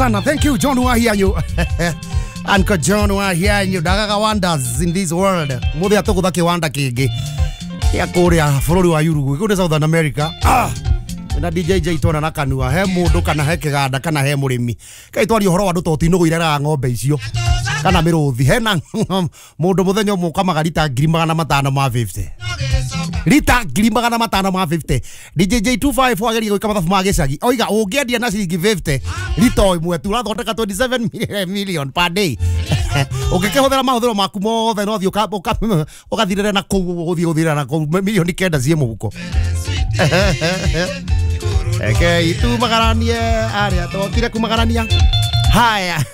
Sana. Thank you, John Wahianyu. Uncle John Wahianyu. Ndagaga wonders in this world. Muthi atugutha kiwanda kingi kia kuria bururi wa Uruguay, kuu Southern America. Ah! Na DJ J tona na kanua he mundu kana he kiganda kana he murimi. Kai twari uhoro wa andu to tinugwireraga ng'ombe icio kana miruthi. Hena mundu muthenya umwe ukamaga rita 550. Rita 550. DJ J25 ageria gwika mathabu ma gicagi. Oiga ungiendia na ciringi 50 rita imwe tu urathondeka 27 million per day. Ũngĩkĩhũthĩra mahũthĩro maku mothe no thiĩ ũgathirĩre na kũu ũthiĩ gũthirĩra na kũu milioni 9 ciĩ mũhuko. Eke itu magaranie aria tokire kumagarania. Haya.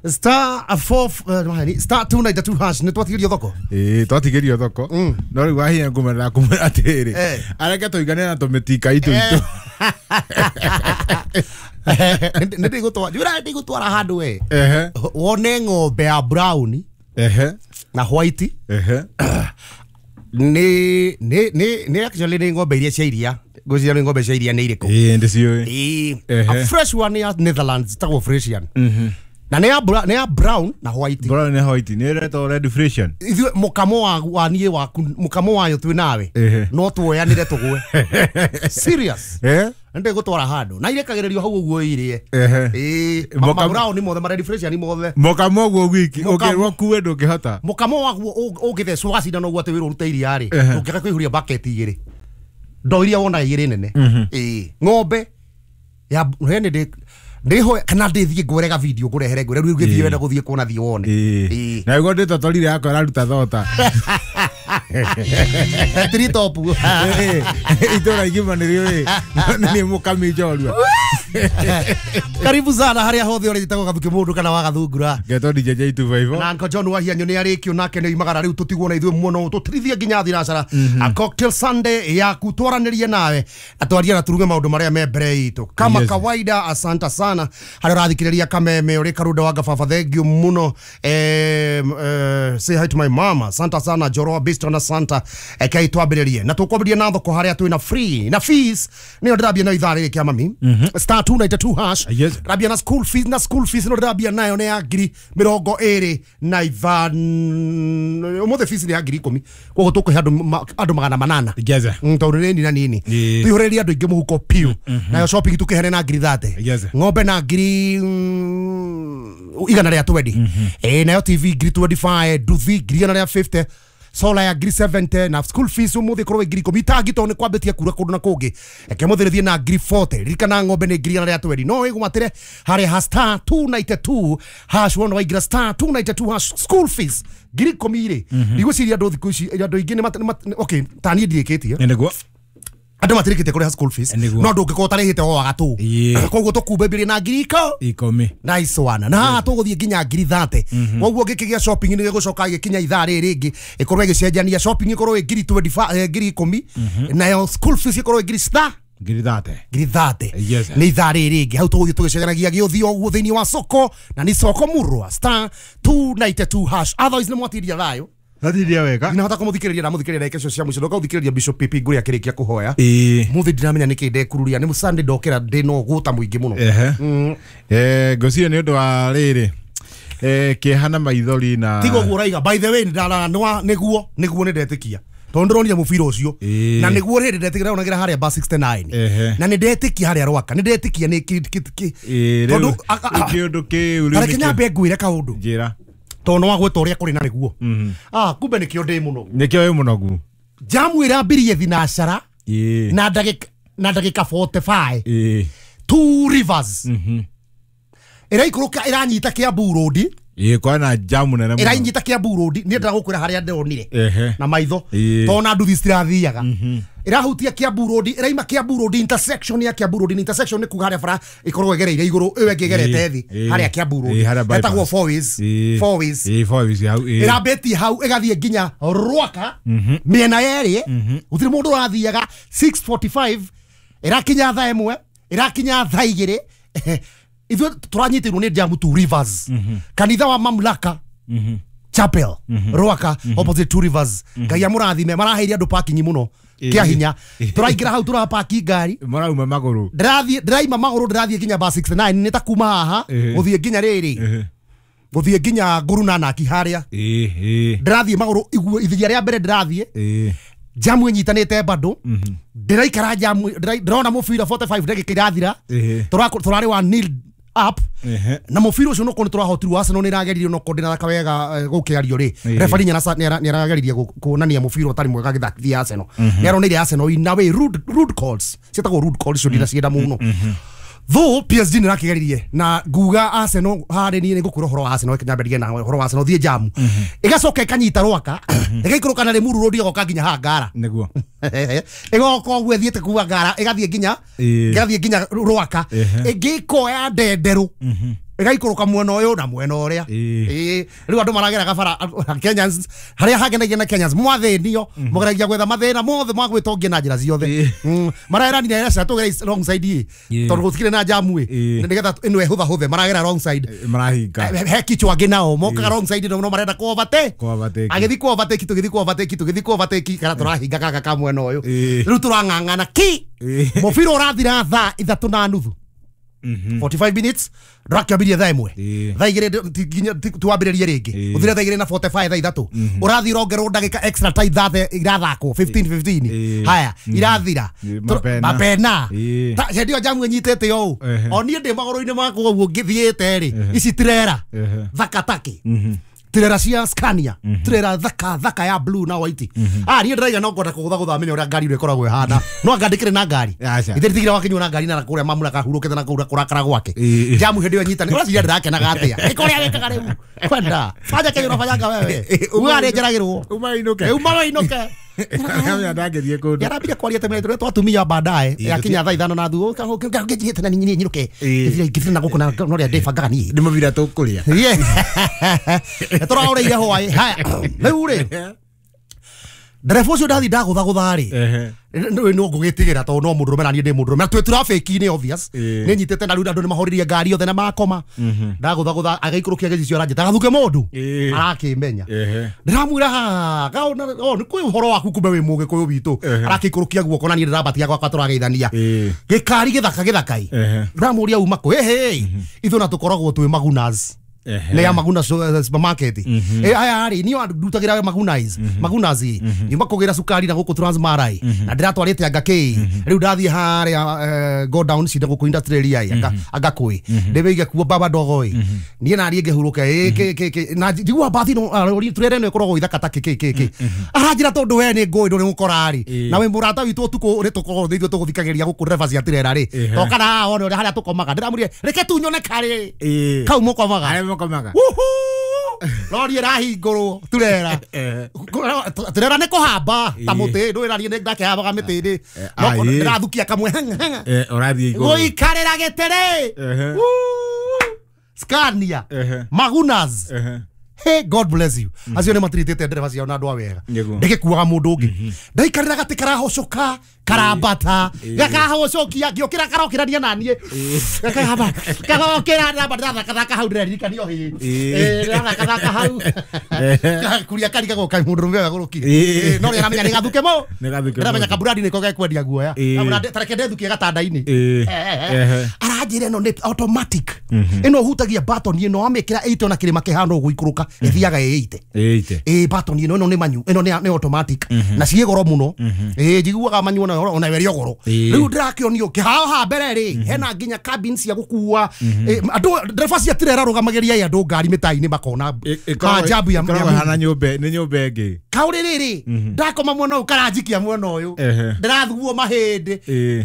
Star 4 star 292 hash nĩ twatigirio thoko. Ĩĩ twatigirio thoko. No rĩu wahinya ngũmerera kumwĩra atĩrĩrĩ, areke tũigane na tũmĩtika itũ itũ. Nĩ ndĩgũtwara njũra ndĩgũtwara handũ we. Wone ng'ombe ya brown na white. Nĩ nĩ nĩ nĩ actually nĩ ng'ombe iria cia iria. Ngwĩciria nĩ ng'ombe cia iria nĩ irĩkũ. Ĩĩ ndĩciũĩ. Ĩĩ. A fresh one ya Netherlands ĩtagwo Frisian. Na nĩ ya brown na white. Brown na white nĩ ĩretwo red Frisian. Ithuĩ mũkamo wa niĩ waku mũkamo wayo twĩ nawe no tuoyanĩre tũgwe. Serious. Ndĩgũtwara handũ na irekagĩrĩrio hau ũguo irie. Ĩĩ ma brown mothe ma red Frisian mothe. Mũkamo ũguo wiki ũngĩrwo kuwe ndũngĩhota. Mũkamo waguo ũngĩthecwo gacindano ũguo atĩ wĩrwo ũrute iria rĩ ndũngĩaga kũihũria bucket igĩrĩ. Ndoo iria wonaga igĩrĩ nene. Ĩĩ ng'ombe ya hene ndĩ ndiho kana ndithie ngwerega video ngurehere ngwere riu ngithie wenda guthie kuona thie wone. Ĩĩ na guo nditotorire yakwa iraruta thota. Three top. Itũra igima nĩrĩũĩ nĩ mũkami njorua. Karibu sana haria hothe ũrĩtagwo Gathuki mũndũ kana wa Gathungura. Ngetwo DJ J254. Na Uncle John Wahianyu nĩ arĩkio nake nĩ oimagara rĩu tũtigwo na ithuĩ mũno tũtirithie nginya thinacara. A cocktail Sunday yaku twaranĩrie nawe atwarie na turuge maũndũ marĩa me mbere itũ. Kama kawaida asante sana harĩa ũrathikĩrĩria kameme ũrĩ karunda wa gababa thank you mũno. Say hi to my mama. Asante sana Joroa Bistro na Santa. Kai twambĩrĩrie na tũkwambĩrĩria na thoko harĩa twĩna free na fees nĩyo ndĩrambia nayo ithaa rĩrĩ kĩa mami. Star 292 hash. Rabia na school fees na school fees no rabia nayo nĩ ya 25 ũmũthĩ fees nĩ ya 10,000 koguo tũkũhe andũ 800. Tondũ nĩ nini na nini tũihũrĩrie andũ aingĩ mũhuko piũ. Nayo shopping tũkĩheane na 30,000. Ng'ombe na 120,000. Nayo TV 25,000, nduthi 150,000, solar ya 70,000 na school fees umuthi korwo 10,000 itangi to ni kwambitie kura kundu na kungi eke muthi rithie na 40,000. Ririkana ng'ombe ni 120 no igwatire hari ha star 292 hash wona waingira star 292 hash school fees 10,000 ri ndigwiciria andu thiku ici andu aingi ni okay ta niĩ ndirĩkĩtie nĩguo andu matirĩkĩtie kũrĩha school fees no ndũngĩkorwo ũtarĩhĩte o wagatũ koguo tũkumbĩmbirie na 10,000. Nice one. Na haha tũgũthiĩ nginya 30,000. Koguo ngĩkĩgĩa shopping nĩ gĩgũcoka gĩkinya ithaa rĩrĩ rĩngĩ ĩkorwo ĩgĩcenjania shopping ĩkorwo ĩ 25,000 10,000 nayo school fees ĩkorwo ĩ 30,000. 30,000 nĩ ithaa rĩrĩ rĩngĩ hau tũgũthiĩ tũgĩcenjanagia gĩũthiĩ ũguo thĩinĩ wa soko na nĩ soko murwa star 292 hash. Otherwise nĩ mwatiria thayũ. Ndathiria wega. Ndinahota kũmũthikĩrĩria na mũthikĩrĩria ndagĩka icio cia mũico ndoka gũthikĩrĩria Bishop PP Ngũrĩ akĩrĩkia kũhoya. Mũthĩ ndiramenya nĩkĩ ndekururia nĩ Sunday ndokĩra ndĩ na ũgũta mũingĩ mũno. Ngũciria nĩ ũndũ wa rĩrĩ kĩeha na maithori na tiga ũguo ũraiga. By the way nĩguo nĩguo nĩ ndetĩkia tondũ ndĩronire mũbira ũcio na nĩguo rĩrĩ ndetĩkia ndĩronagĩra harĩa bar 69 na nĩ ndetĩkia harĩa Rwaka nĩ ndetĩkia nĩ tondũ kĩũndũ kĩu rĩu reke nyambe ngwĩre kaũndũ njĩra tondũ no wagweta ũrĩa kũrĩ na nĩguo. Kumbe nĩkĩo ndĩ mũnogu. Nĩkĩo wĩ mũnogu. Jamu ĩrambirie thinacara na ndagĩka na ndagĩka 45. Two Rivers. Ĩraikũrũka ĩranyita Kiambu Road. Ĩĩ kwana jamu nene mũno. Ĩranyita Kiambu Road niĩ ndĩragũkwĩra harĩa ndĩronire na maitho tondũ na nduthi citirathiaga. Ĩrahutia Kiambu Road, ĩraima Kiambu Road intersection ya Kiambu Road. Intersection nĩ kuga harĩa bara ĩkoragwo ĩgereire igũrũ ĩyo ĩngĩ ĩgerete thĩ harĩa Kiambu Road ĩtagwo four ways. Four ways. Four ways hau. Ĩrambĩtie hau ĩgathiĩ nginya Rwaka mĩena yerĩ gũtirĩ mũndũ ũrathiaga. 6:45 ĩrakinya thaa 1 ĩrakinya thaa 2 ithuĩ tũranyitĩirwo nĩ jamu Two Rivers. Kanitha wa Mamlaka Chapel Rwaka opposite Two Rivers. Ngai amũrathime maraheire andũ parking mũno. Kia hinya turaingira hau turapaki ngari marauma maguru ndirathie ndiraima maguru ndirathie nginya ba 69 ni ta kuma haha guthie nginya riri guthie nginya nguru na naki haria ndirathie maguru ithiria ria mbere ndirathie jamu inyitanite bado ndiraikara jamu ndirona mubira 45 ndagika irathira turari wa nil up na mubira ucio noko niturahotirwo Arsenal nirageririe noko ndirathaka wega gukiario ri referee nyarageririe kuonania mubira utari mwega githakia Arsenal niaronire Arsenal in a way rude calls cietagwo rude calls cio ndiracienda muno though PSG nirakigeririe na nguga Arsenal hari ni ngukura horo wa Arsenal kinyamberie na horo wa Arsenal thie jamu igacoka ikanyita rwaka igaikũrũka na Limuru road igoka nginya Hangara niguo igoka ũguo ĩthiĩte kuma Ngara ĩgathiĩ nginya Rwaka ĩngĩkoya Ndenderũ ĩgaikũrũka mwena ũyũ na mwena ũrĩa rĩu andũ marageraga bara Kenyans harĩa hangenagia na Kenyans mwathĩnio mũgeragia gwetha mathĩna mothe magwĩtongia na njĩra ciothe maraeranire aca tũgere wrong side tondũ gũtikĩrĩ na jamu nĩgetha ĩno ĩhũthahũthe maragera wrong side marahinga he kichwa angĩ nao mokaga wrong side no marenda kũ overtake agĩthiĩ kũ overtake tũgĩthiĩ kũ overtake tũgĩthiĩ kũ overtake kana tũrahinga gaka ka mwena ũyũ rĩu tũrang'ang'ana ki mũbira ũrathira thaa 3:30 45 minutes ndũrakĩambirie thaa ĩmwe thaa igĩrĩ tuwambĩrĩrie rĩngĩ ũthire thaa igĩrĩ na 45 thaa ithatũ ũrathiĩ ũrongerwo ndagĩka extra ta ithathe irathakwo 15 15 haya irathira mapena hĩndĩ ĩyo jamu ĩnyitĩte ũũ o niĩ ndĩ magũrũ-inĩ makwa ũguo ngĩthiĩte rĩ ici tirera thakataki tirera cia Scania tirera thaka thaka ya blue na white niĩ ndĩraiga no ngwenda kũgũthagũtha menye ũrĩa ngari ĩno ĩkoragwo ĩhana no anga ndĩkĩrĩ na ngari ithe nditigire wakinywo na ngari na kũrĩa mamura kahurũkĩte na kũu kũrakara gwake jamu hĩndĩ ĩyo ĩnyitane ũraciria ndĩrakenaga atĩa ĩka ũrĩa wĩkaga rĩu kwenda fanya kenye ũrabanyanga wewe uga nĩ njeragĩrwo uma wainũke yarambire kwaria tene tũrĩa twatumia baadaye yakinya thaa ithano na thutha ngĩnjihĩte na niĩ nyinũke ngĩthire na gũkũ na ũrĩa ndĩbangaga niĩ nĩ mũbira tũkũrĩa tũraũrĩire hwaĩ haya rĩu rĩ ndereba ũcio ndathi ndagũthagũtha rĩ no ngũgĩtigĩra tondũ no mũndũrũme na niĩ ndĩ mũndũrũme na twĩ traffic-inĩ obvious nĩ nyitĩte na rĩu andũ nĩ mahoririe ngari yothe na makoma ndagũthagũtha agĩikũrũkia gĩcicio aranjĩta gathuke mũndũ arakĩmenya ndĩramwĩra nĩ kwĩ ũhoro waku kumbe wĩ mũgĩkũyũ witũ arakĩikũrũkia guoko na niĩ ndĩrambatia gwakwa tũrageithania gĩkari gĩthaka gĩthakai ndĩramũria uma kũ ĩhĩ ithuĩ na tũkoragwo twĩ magunas nä ya Maguna supermarket aya rä niä ndutagä Magunas Magunas nyuma kå gä ra cukari na gå kå Transmara na ndä ratwarä te anga kä rä u ndathiä harä go down cinda gå kå industrial area anga kwä ndä wä ige kuo baba dogo ä niä nariä ngä hurå ke na njigua mbathi no turere no ĩkoragwo ithaka ta kä kä kä aranjä ra tondå we nä ngå ndå rä gå kora rä na wä må rata witå å tukå rä tå korwo ithuä tå gå thikagä ria gå kå ndereba cia tirera rä toka na wone å rä a harä a tå komaga ndä ramå reke tu nyone karä kau må komaga Wuhu! Rori ĩrahingũrwo turera turera nĩ kũhamba ta mũtĩ ndwĩrarie nĩ ndakehambaga mĩtĩ-inĩ no ndĩrathukia kamwe ũrathiĩ igũrũ gũikarĩra gĩtĩ Scania Magunas Hey, God bless you. Acio nĩ matiritĩte ndereba ciao na andũ a wega ndĩgĩkuaga mũndũ ũngĩ ndaikarĩra gatĩ karahocoka karambata gakahocokia ngĩũkĩra karokĩrania naniĩ gakahamba karokĩra namba ndĩrathakathaka hau ndĩraririkanio hĩ ndĩrathakathaka hau kuria karigagwo kaĩ mũndũrũme ũyũ agũrũkire no nĩaramenya nĩ gathuke mũ nĩaramenya kamburandi nĩko gekwendia guoya tareke ndethukie gatanda-inĩ aranjĩra ĩno nĩ automatic ĩno ũhutagia button ĩno wamĩkĩra 8 ona kĩrĩma kĩhana ũguo ikũrũka ĩthiaga ĩ 8 ĩ button ĩno ĩno nĩ manyu ĩno nĩ automatic na ciĩ goro mũno ĩ njiguaga manyu ona ĩrĩ goro rĩu ndĩrakĩonio kĩhao ha mbere rĩ hena nginya cabin cia gũkua andũ ndereba cia tirera rũgamagĩria andũ ngari mĩtai-inĩ makona maajabu ya hana nyũmba nĩ nyũmba ĩngĩ kaũrĩ rĩrĩ ndakoma mwena ũyũ karanjikia mwena ũyũ ndĩrathuo mahĩndĩ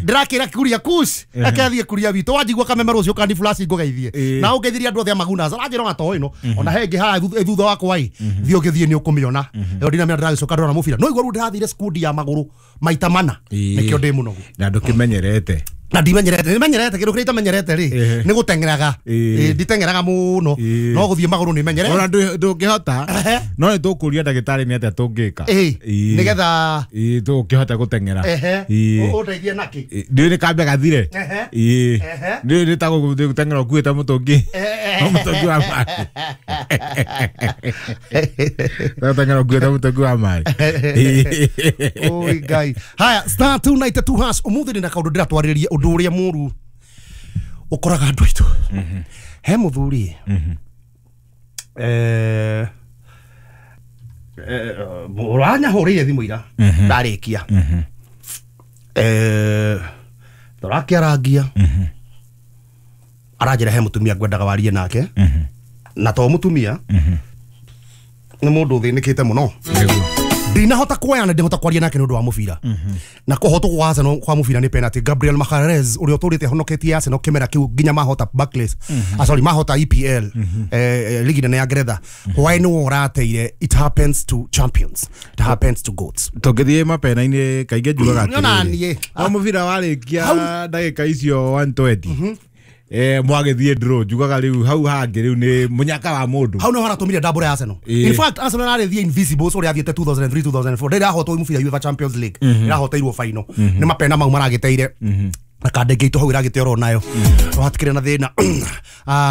ndĩrakĩra kuria kush akathiĩ kuria witũ wanjigua kameme rũciũ kandi flash ngũgeithie na ũngeithirie andũ othe a Magunas aranjĩra ona to ĩno ona he ĩngĩ haha thutha wakwa ĩ thiĩ ũgĩthiĩ nĩ ũkũmĩona ĩyo ndinamenya ndĩragĩcoka ndĩrona mũbira no igua rĩu ndĩrathire skundi ya magũrũ maita mana nĩkĩo ndĩ mũnogu na ndũkĩmenyerete na ndimenyerete nimenyerete kindu kiria itamenyerete ri ni guteng'eraga nditeng'eraga muno no guthie maguru ni menyerete ona ndungihota no ni tukuria ndagitari ni atia tungika nigetha tungihota guteng'era undeithie naki ndi ni kambe gathire ndi ni ta guteng'era ukuite mutungi Mũtũngi wa maĩ. Ũrateng'era ũkuĩte mũtũngi wa maĩ. Oi Ngai. Haya, star 292 hash. Ũmũthĩ ndĩna kaũndũ ndĩratwarĩrĩria ũndũ ũrĩa mũru ũkoraga andũ aitũ. He mũthuri ũranyahũrĩire thimũ ira ndarĩkia tũrakĩarangia aranjĩra he mũtumia ngwendaga warie nake na to mũtumia nĩ mũndũ ũthĩnĩkĩte mũno. Ndinahota kuoya na ndihota kwaria nake nĩ ũndũ wa mũbira na kũhotwo kwa Arsenal kwa mũbira nĩ penalty. Gabriel Magalhaes ũrĩa ũtũrĩte honoketie Arsenal kĩmera kĩu nginya mahota Barclays, sorry, mahota EPL, ligi nene ya Ngeretha. Hwaĩ nĩ ũrateire. It happens to champions, it happens to goats. Tũngĩthiĩ mapena-inĩ kaingĩ njugaga Nĩona niĩ. No mũbira warĩkia ndagĩka icio 120 mwagĩthiĩ draw, njugaga rĩu hau hangĩ rĩu nĩ mũnyaka wa mũndũ. Hau nĩho haratũmire double ya Arsenal. In fact, Arsenal arĩthiĩ invisibles ũrĩa athiĩte 2003 2004 ndĩrahotwo mũbira UEFA Champions League, ĩrahoteirwo final nĩ mapena mau maragĩteire na kandenge itũ hau ĩragĩte oro nayo hatikĩrĩ na thĩna.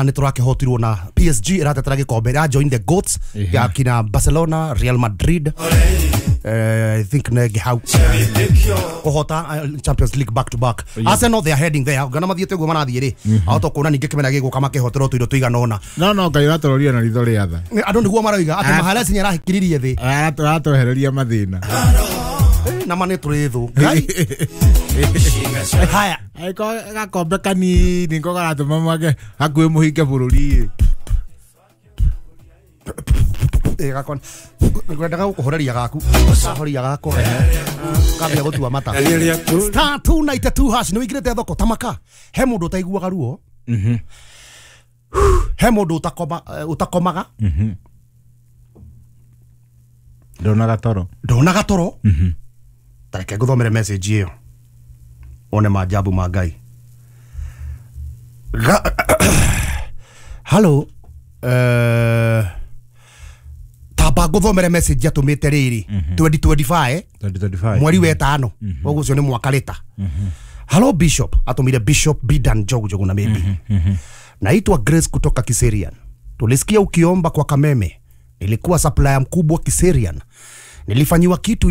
Nĩ tũrakĩhotirwo na PSG ĩratetera gĩkombe, ĩra join the goats ya kina Barcelona, Real Madrid, I think negi hau kũhota Champions League back to back. Arsenal, they are heading there. Gana mathiĩte ũguo marathiĩ rĩ, ahota kuona ningĩ kĩmera gĩgũka makĩhoterwo tũindo tũigana ũna. No Ngai ũratũroria na ritho rĩa tha. Andũ nĩguo maroiga atĩ Magalhaes nĩ arahikiririe thĩ. Aratwehereria mathĩna. Na ma nĩ tũrĩ thũ. Ngai. Haya. Angĩkorwo gakombe kanini nĩko karatũma mwage hakuhĩ mũhinge bũrũri. Gakon ngwendaga gũkũhoreria gaku horia gakwa kambia gũtua mata. Star 292 hash nĩ wĩingĩrĩte thoko tamaka. He mũndũ ũtaiguaga ruo, he mũndũ ũtakomaga, ndonaga toro, ndonaga toro. Tareke ngũthomere message ĩyo wone maajabu ma Ngai. Hello, tamba ngũthomere message atũmĩte rĩrĩ 2025 mweri wetano ũguo ũcio nĩ mwaka rĩta. Hello Bishop, atũmire Bishop Bidan Njogu na maybe. Naitwa Grace kutoka Kiserian. Tulisikia ukiomba kwa Kameme. Nilikuwa supplier mkubwa Kiserian. Nilifanyiwa kitu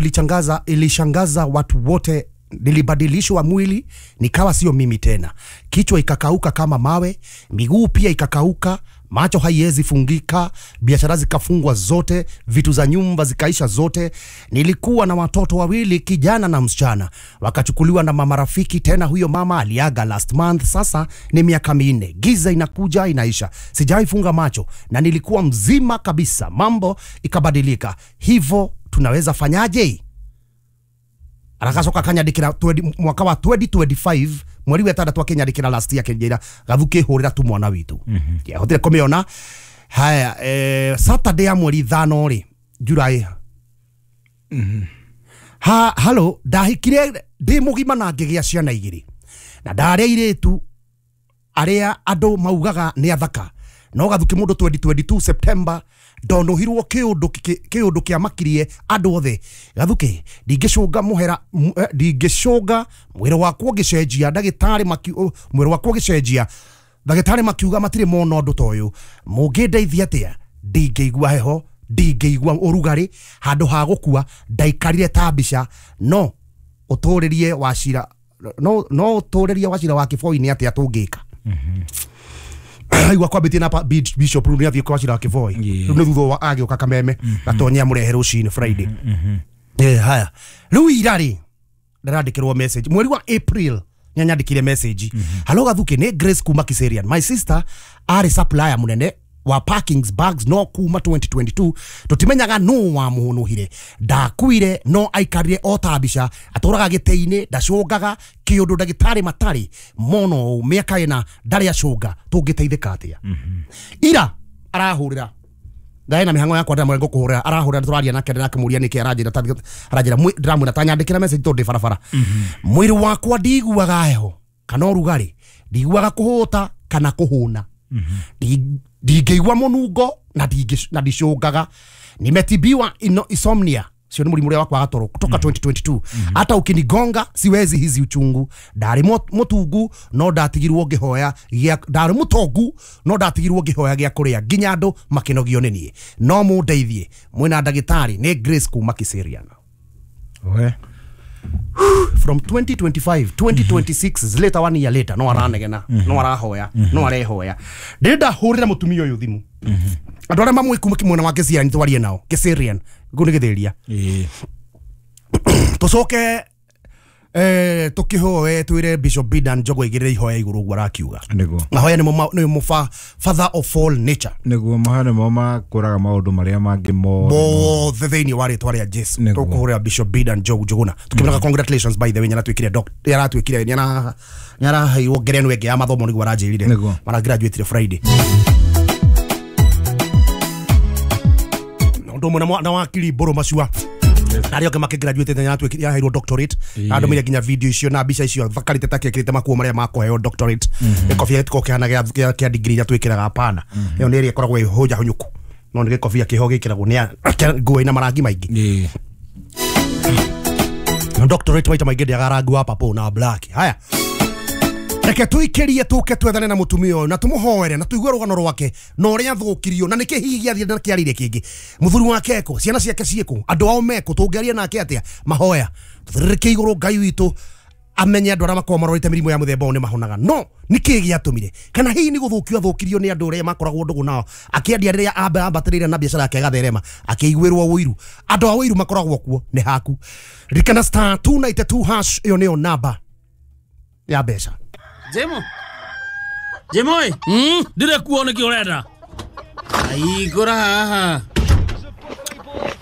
ilishangaza watu wote. Nilibadilishwa mwili nikawa sio mimi tena. Kichwa ikakauka kama mawe, miguu pia ikakauka, macho haiwezi fungika, biashara zikafungwa zote, vitu za nyumba zikaisha zote. Nilikuwa na watoto wawili, kijana na msichana. Wakachukuliwa na mama rafiki, tena huyo mama aliaga last month. Sasa ni miaka 4. Giza inakuja inaisha. Sijawahi funga macho na nilikuwa mzima kabisa. Mambo ikabadilika. Hivo tunaweza fanyaje? Arakacoka kanyandikira mwaka wa 2025 mweri wa 6 akinyandikira last year akinjira gathuki hurira tu mwana witu. Hotire kumiona. Haya, Saturday ya mweri 5 ri July. Ha hello, ndahikire ndi mugima na ngĩgĩa ciana igĩrĩ na ndarĩa irĩtu arĩa andũ maugaga nĩ athaka, no gathuki mũndũ 2022 September ndonohirwo kiundu kia makirie andu othe. Gathuki ndingicunga muhera, ndingicunga mwĩrĩ wakwa ũgĩcenjia, ndagĩtarĩ mwĩrĩ wakwa ũgĩcenjia, ndagĩtarĩ makiuga matirĩ mona ũndũ ta ũyũ. Mũngĩndeithia atĩa? Ndingĩigua heho, ndingĩigua ũrugarĩ, handũ ha gũkua ndaikarire ta mbica. No ũtũrĩrie wacira, no ũtũrĩrie wacira wa Kĩboi-inĩ atĩa tũngĩka? Aigua kwambĩtie na Bishop rĩu nĩathiĩ kwa Wachira wa Kĩboi. Rĩu nĩ thutha wa agĩũka Kameme gatonya amũrehe rũcinĩ Friday. Haya, rĩu ira rĩ ndĩrandĩkĩrwo message mweri wa April nĩanyandĩkire message. Hello Gathuki, nĩ Grace kuma Kiserian. My sister arĩ supplier mũnene wa parkings bags no kuma 2022 tutimenyaga no wa muhunuhire. Ndakuire no aikarire o ta mbica, atũraga gĩtĩ-inĩ, ndacũngaga kĩũndũ ndagĩtarĩ matarĩ mono mĩaka ĩna ndarĩ acũnga. Tũngĩteithĩka atĩa? Ira arahũrĩra ndaĩ na mĩhang'o yakwa ndĩramwĩra ngũkũhũrĩra, arahũrĩra tũraria nake ndĩrakĩmũria nĩkĩ aranjĩra, aranjĩra ndĩramwĩra tanyandĩkĩra message tondũ ndĩ barabara. Mwĩrĩ wakwa ndiguaga heho kana ũrugarĩ, ndiguaga kũhũta kana kũhũna, ndingĩigua mũnungo na ndicũngaga. Nimetibiwa insomnia Sio nĩ mũrimũ ũrĩa wa kwaga toro kutoka 2022. Hata ukinigonga siwezi hizi uchungu. Ndarĩ mũtungu no ndatigirwo ngĩhoya gĩa, ndarĩ mũtongu no ndatigirwo ngĩhoya gĩa kũrĩa nginya andũ makĩnogio nĩ niĩ. No mũndeithie mwĩna ndagĩtarĩ. Nĩ Grace kuma Kiserian. We. From 2025 2026 is later, 1 year later, no aranegena, no arahoya, no arehoya. Ndĩrenda hũrĩre mũtumia ũyũ thimũ. Andũ arĩa mamũĩ kuma mwena wa Kiserian twarie nao. Kiserian kũu nĩ gĩthĩria. Tũcoke tũkĩhoe twĩre Bishop Bidan Njogu aigĩrĩre ihoya igũrũ ũguo arakiuga. Nĩguo. Mahoya nĩmo father of all nature. Nĩguo mahoya nĩmo makũraga maũndũ marĩa mangĩ mothe thĩinĩ wa rĩtwa rĩa Jesu. Tũkũhũrĩra Bishop Bidan Njogu Njuguna tũkĩmwĩraga congratulations, by the way, nĩaratuĩkire doctor, nĩaratuĩkire, nĩaraheirwo ngerenwa ĩngĩ ya mathomo nĩguo aranjĩrire. Maragraduate Friday. Ũndũ ũmwe na wakiri Mbũrũ Macua arĩa angĩ makĩgraduate nĩaraheirwo doctorate. Andũmĩire nginya video icio na mbica icio thakarĩte ta kĩekĩrĩte makuo marĩa makũheo doctorate. Gĩkobia gĩtikoragwo kĩhana kĩa degree iria twĩkĩraga, hapana. Ĩyo nĩ ĩrĩa ĩkoragwo ĩhũnja hũnyũku, no nĩ gĩkobia kĩho gĩkĩragwo nĩ nguo ĩna marangi maingĩ. Doctorate maita maingĩ ndĩaga rangi wa purple na black. Haya, reke tuikĩrie tũke twethane na mũtumia ũyũ na tũmũhoere na tũigue rũgano rwake na ũrĩa athũkirio na nĩkĩ hihi gĩathire na kĩarĩire kĩngĩ. Mũthuri wake eko, ciana ciake ciĩkũ, andũ ao mekũ, tũngĩaria nake atĩa? Mahoya tũthĩrĩrĩke igũrũ Ngai witũ amenye andũ arĩa makoragwo marorete mĩrimũ ya mũthemba ũyũ nĩ mahonaga. No nĩkĩ gĩatũmire? Kana hihi nĩ gũthũkio athũkirio nĩ andũ arĩa makoragwo ndũgũ nao, akĩendia rĩrĩa ambatĩrĩire na biacara yake ĩgatherema, akĩiguĩrwo ũiru. Andũ a ũiru makoragwo kuo nĩ haku. Ririkana star 292 hash, ĩyo nĩyo namba ya mbeca. Jemo. Jemo ĩ. Ndire kuo nĩkĩ ũrenda? Aigũra haha.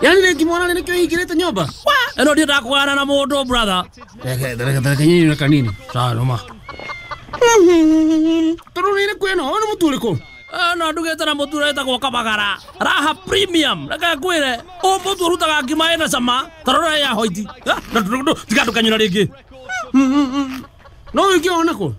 Yaani rĩngĩ mwana nĩkĩo hingĩrĩte nyũmba? Ĩno ndiendaga kũgana na mũndũ brother. Reke nyinyi kanini. Sawa noma. Tondũ nĩ kwĩna ũyũ nĩ mũtu ũrĩkũ? No ndugĩte na mũtu ũretagwo Kabagara. Raha Premium. Reke ngwĩre, ũyũ mũtu ũrutaga ngima ĩna cama, ta rora ya hoiti. Tiga ndũkanyũra rĩngĩ. No ũngĩona kũ?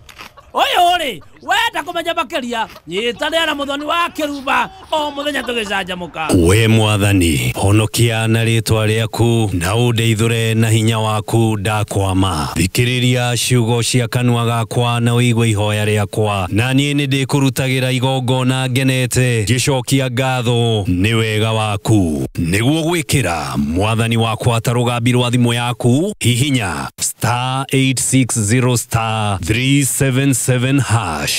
Ũyũ rĩ, wenda kũmenya makĩria, nyitanĩra na mũthoni wa kĩrumba o mũthenya tũgĩcanjamũka. We mwathani, honokia na rĩtwa rĩaku na ũndeithũre na hinya waku ndakwama. Thikĩrĩria ciugo cia kanua gakwa na ũigue ihoya rĩakwa, na niĩ nĩndĩkũrutagĩra igongona ngenete ngĩcokia ngatho nĩ wega waku. Nĩguo gwĩkĩra mwathani wakwa ta rũgambi rwa thimũ yaku, hihinya star 860 star 377 hash.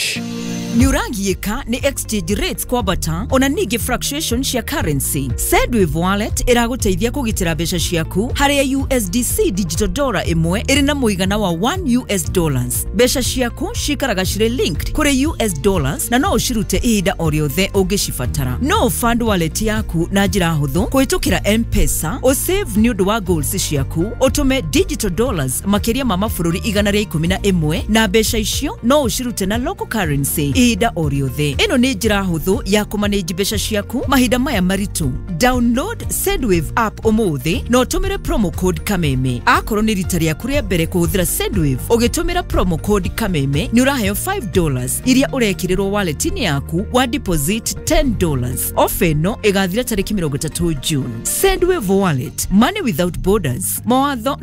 Nĩũragiĩka nĩ exchange rates kwambata ona ningĩ fluctuation cia currency. Sendwave Wallet ĩragũteithia kũgitĩra mbeca ciaku harĩa USDC digital dollar ĩmwe ĩrĩ na mũigana wa 1 US dollars. Mbeca ciaku cikaraga cirĩ linked kũrĩ US dollars na no ũcirute ihinda o rĩothe ũngĩcibatara. No fund wallet yaku na njĩra hũthũ kũhĩtũkĩra M-Pesa, ũsave nĩ ũndũ wa goals ciaku, ũtũme digital dollars makĩria ma mabũrũri 111 na mbeca icio no ũcirute na local currency ihinda o rĩothe. Ĩno nĩ njĩra hũthũ ya kũmanage mbeca ciaku mahinda maya maritũ. Download Sendwave app ũmũthĩ na ũtũmĩre promo code Kameme. Akorwo nĩ rita rĩaku rĩa mbere kũhũthĩra Sendwave, ũgĩtũmĩra promo code Kameme nĩ ũraheo $5 iria ũrekĩrĩrwo wallet-inĩ yaku wa deposit $10. Ofa ĩno ĩgathira tarĩki 30 June. Sendwave Wallet, money without borders. Mawatho